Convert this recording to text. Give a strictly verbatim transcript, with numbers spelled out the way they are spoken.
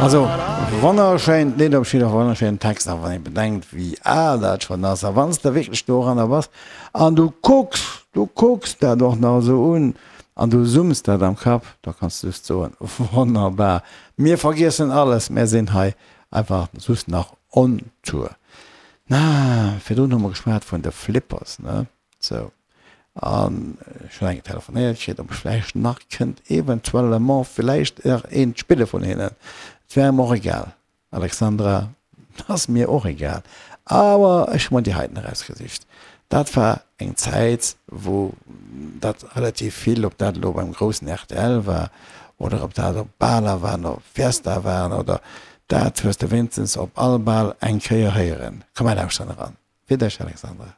Also wonnerschéint Lidd, op jidder Fall wonnerschéinen Text, a wann ee bedenkt wéi al dat schonn ass, a wann s de wierklech doranner bass an du kucks, du kucks dat och nach esou un an du summs dat am Kapp, da kanns de just soen, wonnerbar. Mir vergiessen alles, mär sinn hei einfach just nach on Tour. Na, virdrun hu mer geschwat vun de Flippers, ne? Sou. An ech hunn eng telefonéiert kritt, ob ech vläicht nach kënnt eventuellement villäicht nach eent spille vun hinnen. Et wär em och egal, Alexandra, ass mir och egal. Awer ech hu mer déi heiten erausgesicht. Dat war eng Zäit, wou dat relativ vill, ob dat elo beim groussen rtl war oder ob dat op Baler waren, op Fiesta waren oder dat hues de wéinstens op all Bal eng Kéier héieren. Komm, mer lauschteren eran. Fir dech, Alexandra.